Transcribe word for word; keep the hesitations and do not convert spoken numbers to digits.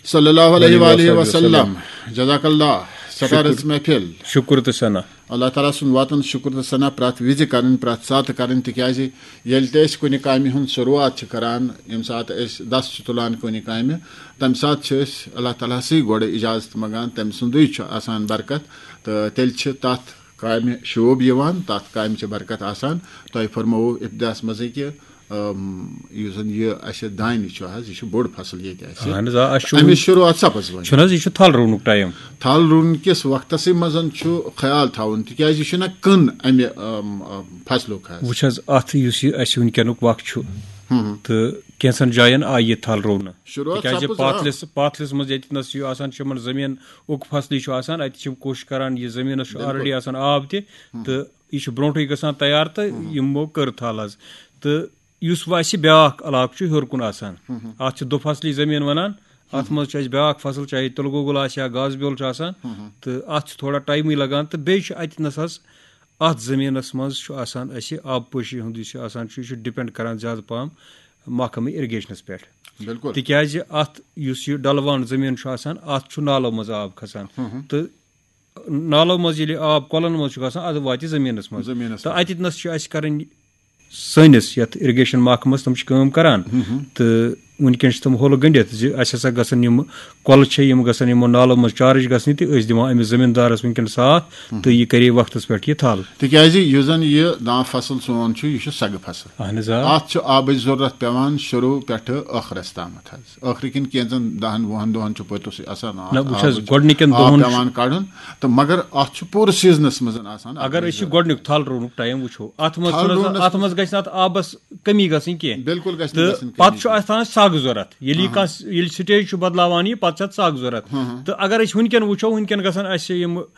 صلی اللہ علیہ وآلہ وسلم۔ جزاک اللہ۔ سٹارس محفل۔ شکر تہٕ ثنا۔ اللہ تعالیٰ سُنٛد واتُن شُکُر تہٕ ثنا پرٛٮ۪تھ وِزِ کَرٕنۍ، پرٛٮ۪تھ ساتہٕ کَرٕنۍ، تِکیٛازِ ییٚلہِ تہِ أسۍ کُنہِ کامہِ ہُنٛد شروٗعات چھِ کَران، ییٚمہِ ساتہٕ أسۍ دَس چھِ تُلان کُنہِ کامہِ، تَمہِ ساتہٕ چھِ أسۍ اللہ تعالیٰ ہسٕے گۄڈٕ اِجازت منٛگان، تٔمۍ سُنٛدُے چھُ آسان برکت، تہٕ تیٚلہِ چھِ تَتھ کامہِ شوٗب یِوان، تَتھ کامہِ چھِ برکت آسان۔ تۄہہِ فرمووُ ابتداہَس منٛزٕے کہِ، ام، یُس زَن یہِ اَسہِ دانہِ چھُ حظ، یہِ چھُ بوٚڑ فصل ییٚتہِ اَسہِ۔ اہن حظ، آ، اَسہِ چھُ اَمِچ وۄنۍ شروٗعات سپٕز وۄنۍ۔ چھُنہٕ حظ، یہِ چھُ تھل رُونُک ٹایم۔ تھل رُونہٕ کِس وقتَسٕے منٛز چھُ خیال تھاوُن، تِکیٛازِ یہِ چھُنہ کٕن اَمہِ، ام، ام، فصلُک حظ۔ وٕچھ حظ، اَتھ یُس یہِ اَسہِ وٕنکیٚنُک وقت چھُ، ہُم۔ تہٕ کینٛژھن جایَن آیہِ یہِ تھل رُونہٕ۔ شروٗعات تِکیٛازِ سپٕز، آ۔ پاتھلِس، پاتھلِس منٛز ییٚتہِ نَس چھُ آسان، چھُ یِمَن زٔمیٖن اُک فصلٕے چھُ آسان، اَتہِ چھِ یِم کوٗشِش کَران، یہِ زٔمیٖنَس چھُ بِلکُل۔ آلریڈی آسان آب تہِ، ہُم۔ تہٕ یہِ چھُ برونٛٹھٕے گژھان تیار تہٕ ہُم۔ یِمو کٔر تھل حظ۔ تہٕ یُس وۄنۍ اَسہِ بیٛاکھ علاقہٕ چھُ ہیوٚر کُن آسان، ہُم۔ اَتھ چھِ دُفصلی زٔمیٖن وَنان۔ اَتھ ہُم۔ منٛز چھُ اَسہِ بیٛاکھ فصل، چاہے تِلہٕ گۄگُل آسہِ یا گاسہٕ بیول چھُ آسان، ہُم۔ تہٕ اَتھ چھُ تھوڑا ٹایمٕے لَگان۔ تہٕ بیٚیہِ چھُ اَتہِ نَس حظ، اَتھ زٔمیٖنَس منٛز چھُ آسان اَسہِ آبپٲشی ہُنٛد یُس یہِ آسان چھُ، یہِ چھُ ڈِپٮ۪نٛڈ کَران زیادٕ پَہَم محکمہٕ اِرِگیشنَس پٮ۪ٹھ۔ بِلکُل۔ تِکیٛازِ اَتھ یُس یہِ ڈَلوان زٔمیٖن چھُ آسان، اَتھ چھُ نالو منٛز آب کھَسان۔ ہُم ہُم۔ تہٕ نالو منٛز ییٚلہِ آب کۄلَن منٛز چھُ گژھان، اَدٕ واتہِ زٔمیٖنَس منٛز۔ زٔمیٖنَس تہٕ منٛز۔ اَتہِ نَس چھِ اَسہِ کَرٕنۍ سٲنِس یَتھ اِرِگیشَن محکمَس، تِم چھِ کٲم کَران۔ ہُم ہُم۔ تہٕ وٕنکیٚن چھِ تِم ہولہٕ گٔنٛڈِتھ زِ اَسہِ ہسا گژھن یِم کۄلہٕ چھِ، یِم گژھن یِمو نالو منٛز چارج گژھنہِ، تہٕ أسۍ دِوان أمِس زٔمیٖندارَس وٕنکیٚن ساتھ، ہُم۔ تہٕ یہِ کَرے وقتَس پٮ۪ٹھ یہِ تھل۔ تِکیٛازِ یُس زَن یہِ دانہِ فصل سون چھُ، یہِ چھُ سَگہٕ فصل۔ اہن حظ، آ۔ اَتھ چھُ آبٕچ ضروٗرت پٮ۪وان شروٗع پٮ۪ٹھٕ ٲخرَس تامَتھ حظ۔ ٲخرٕکٮ۪ن کینٛژَن دَہَن وُہَن دۄہَن چھُ پوٚتُسٕے آسان آب، نہ، وٕچھ حظ، آبٕچ گۄڈٕنِکٮ۪ن آب دۄہَن چھُ پٮ۪وان کَڑُن، تہٕ مگر اَتھ چھُ پوٗرٕ سیٖزنَس منٛز آسان اگر اَتھ أسۍ یہِ ضروٗرت۔ گۄڈٕنیُک تھل رُونُک ٹایم وٕچھو، اَتھ منٛز تھل چھُنہٕ حظ، رُونَس اَتھ منٛز گژھِ نہٕ اَتھ آبَس کٔمی گژھٕنۍ کینٛہہ۔ بِلکُل گژھِ نہٕ تہٕ گژھٕنۍ پَتہٕ کٔمی۔ چھُ اَتھ آسان سَگ ضوٚرَتھ۔ ییٚلہِ یہِ ہاں۔ کانٛہہ، ییٚلہِ سٹیج چھُ بدلاوان یہِ، پَتہٕ چھُ اَتھ سَگ ضوٚرَتھ۔ ہاں، ہاں۔ تہٕ اگر أسۍ وٕنکیٚن وٕچھو، وٕنکیٚن گژھن اَسہِ یِم